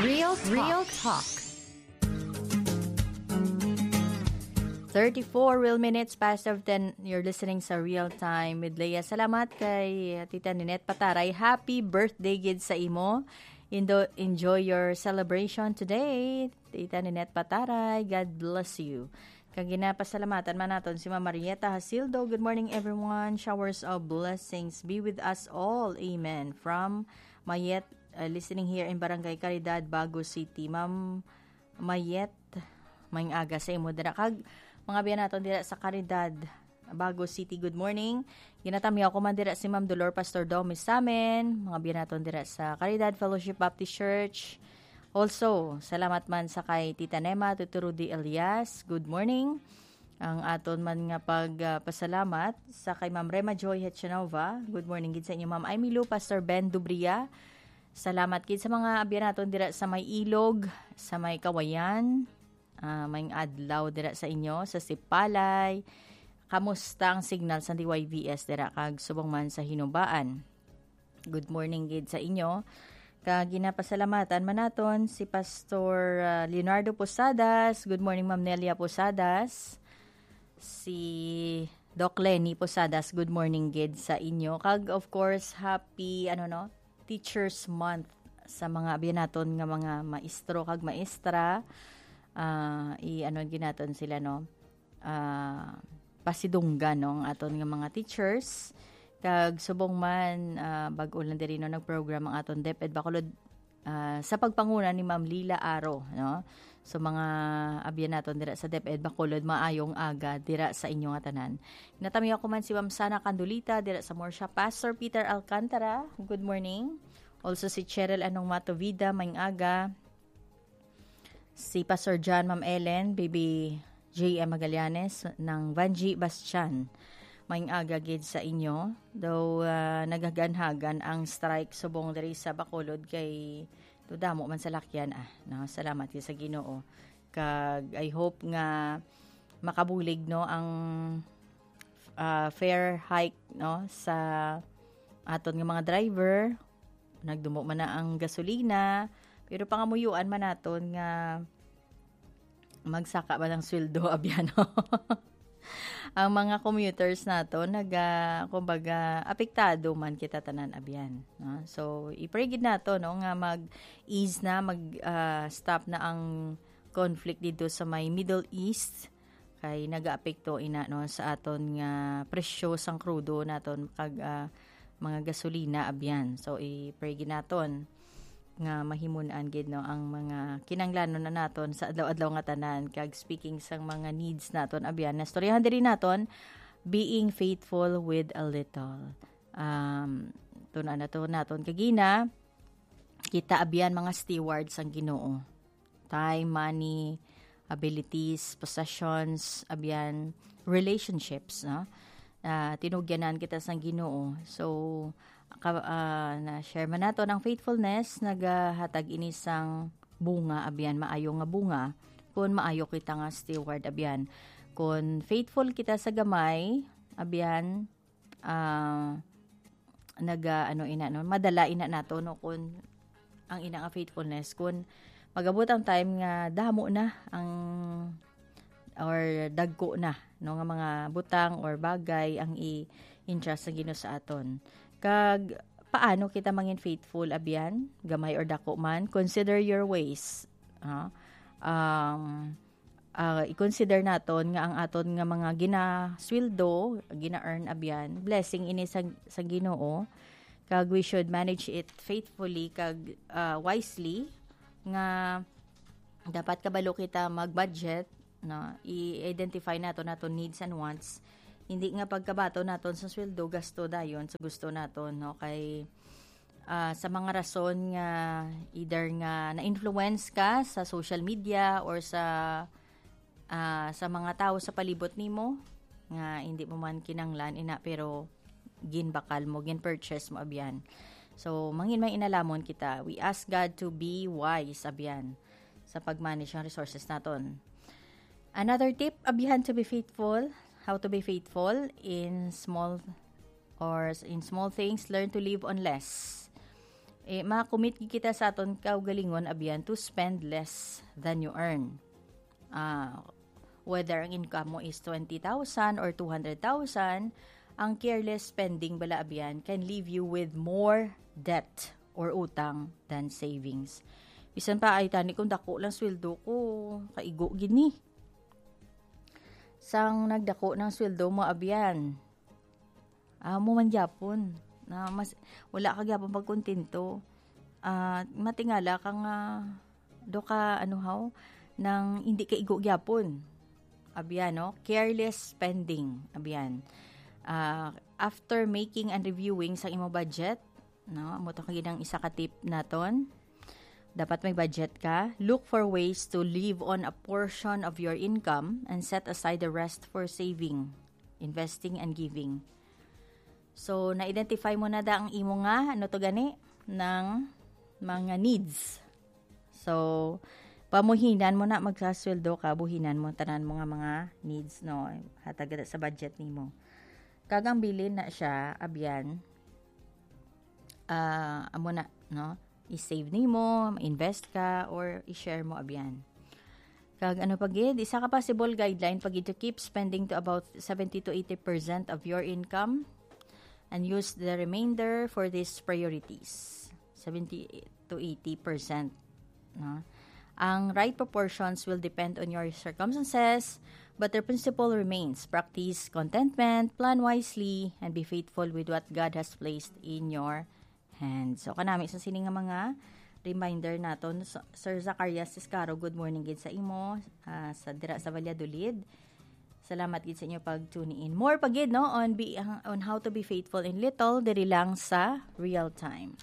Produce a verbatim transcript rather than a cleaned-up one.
Real Talk. Real Talk. Thirty-four real minutes past of ten. You're listening sa Real Time with Leah. Salamat kay Tita Ninette Pataray. Happy birthday gid sa imo. Indo-, enjoy your celebration today, Tita Ninette Pataray. God bless you. Kag ginapasalamatan man naton si Ma'am Marieta Hasildo. Good morning, everyone. Showers of blessings be with us all. Amen. From Mayet, uh, listening here in Barangay Caridad, Bago City. Ma'am Mayet, maayong aga sa imo dira. Kag mga biya naton dira sa Caridad, Bago City, good morning. Ginatamyaw ko man dira si Ma'am Dolor Pastor Domi Samen. Mga biya naton dira sa Caridad Fellowship Baptist Church. Also, salamat man sa kay Tita Nema, Tito Rudy Elias. Good morning. Ang aton man nga pag, ah, pasalamat sa kay Ma'am Rema Joy Hechanova. Good morning gid sa inyo, Ma'am Aimee Lou, Pastor Ben Dubria. Salamat gid sa mga abyan naton dira sa may Ilog, sa may Kawayan. Ah, maayong adlaw dira sa inyo, sa Sipalay. Kamusta ang signal sa D Y V S dira kag subong man sa Hinubaan? Good morning gid sa inyo. Kag ginapasalamatan man naton si Pastor, ah, Leonardo Posadas. Good morning, Ma'am Nelia Posadas. Si Doc Lenny Posadas, good morning gid sa inyo. Kag of course, happy, ano, no, Teachers Month sa mga abyan naton nga mga maestro kag maestra. Ah, i-, ano gid naton sila, no? Ah, pasidunggan, no, ang aton nga mga teachers. Kag subong man, ah, bag-o lang diri, no, nag-program ang aton DepEd Bacolod, ah, sa pagpanguna ni Ma'am Lila Aro, no? So, mga abyan naton dira sa DepEd Bacolod, maayong aga dira sa inyo nga tanan. Natamyaw ko man si Ma'am Sana Candulita dira sa Murcia. Pastor Peter Alcantara, good morning. Also si Cheryl Anong Matovida, maayong aga. Si Pastor John, Ma'am Ellen, Baby J M Magallanes, nang Vanji Bastian. Maayong aga gid sa inyo. Though, ah, naghaganhagan ang strike subong diri sa Bacolod kay do damo man salakyan, ah, no? Salamat gid sa Ginoo. Kag I hope nga makabulig, no, ang, ah, fare hike, no, sa aton nga mga driver. Nagdumo man na ang gasolina, pero pangamuyuan man naton nga magsaka ba ng sweldo, abyan, no? Ang mga commuters naton naga-, kumbaga, apektado man kita tanan, abyan, no? So, i-pray gid nato, no, nga mag-ease na, mag, ah, stop na ang conflict dito sa may Middle East, kay nagaapekto ina, no, sa aton nga presyo sang krudo naton kag, ah, mga gasolina, abyan. So, i-pray gid naton nga mahimun-an gid, no, ang mga kinanglanon na naton sa adlaw-adlaw nga tanan. Kag speaking sang mga needs naton, abyan, nastoryahan diri naton, being faithful with a little. Um, tun-an nato naton kagina, kita abyan mga steward sang Ginoo. Time, money, abilities, possessions, abyan, relationships, no? Ah, tinugyanan kita sang Ginoo. So, ka-, ah, na-share man nato ang faithfulness, nagahatag ini sang bunga, abyan, maayo nga bunga. Kung maayo kita nga steward, abyan. Kung faithful kita sa gamay, abyan, ah, naga, ano, ina, no, madala ina nato, no, kun ang ina nga faithfulness, kun magabot ang time nga damo na ang, or dagko na, no, nga mga butang or bagay ang i-entrust sa Ginoo sa aton. Kag paano kita mangin faithful, abyan? Gamay or dako man, consider your ways. Ha? Um, ah, i-consider naton nga ang aton nga mga ginasweldo, gina-earn, abyan, blessing ini sa, sa Ginoo. Kag we should manage it faithfully kag, ah, wisely, nga dapat kabalo kita mag-budget, no? I-identify nato naton needs and wants. Hindi nga pagkabaton naton sa sweldo, gasto dayon sa gusto naton, no? Kay, ah, sa mga rason nga either nga na-influence ka sa social media or sa, ah, sa mga tao sa palibot nimo nga hindi mo man kinanglan ina, pero ginbakal mo, gin-purchase mo, abyan. So, mangin may inalamon kita. We ask God to be wise, abyan, sa pag-manage ng resources naton. Another tip, abyan, to be faithful. How to be faithful in small or s-, in small things, learn to live on less. Eh, ma-commit gid kita sa aton kaugalingon, abyan, to spend less than you earn. Ah, whether ang income mo is twenty thousand or two hundred thousand, ang careless spending bala, abyan, can leave you with more debt or utang than savings. Bisan pa, ay, tani kung dako lang sweldo ko, kaigo gid ni. Sang nagdako ng sweldo mo, abyan, amo man gyapon. Na mas, wala ka gyapon pagkontento. Ah, matingala ka nga, do ka, ano haw, nang hindi ka igo gyapon. Abyan, no? Careless spending. Abyan. Ah, after making and reviewing sa imo budget, no? Amo to kagid ang isa ka tip naton. Dapat may budget ka. Look for ways to live on a portion of your income and set aside the rest for saving, investing, and giving. So, na-identify mo na da ang imo nga, ano to gani, ng mga needs. So, pamuhinan mo na, magsasweldo ka, buhinan mo tanan mo nga mga needs, no? Hatag na sa budget nimo. Kag ang bilin na siya, abyan, ah, amo na, no? I-save nimo, invest ka, or i-share mo, abyan. Kag ano pa gid, isa ka possible guideline pa gid to keep spending to about seventy to eighty percent of your income and use the remainder for these priorities. Seventy to eighty percent, no? Ang right proportions will depend on your circumstances, but the principle remains: practice contentment, plan wisely, and be faithful with what God has placed in your hands. So, kanami sa sini nga mga reminder naton. So, Sir Zacarias Ciscaro, good morning gid sa imo, ah, sa dira sa Valladolid. Salamat gid sa inyo pag tune in. More pa gid, no, on be, on how to be faithful in little diri lang sa Real Time.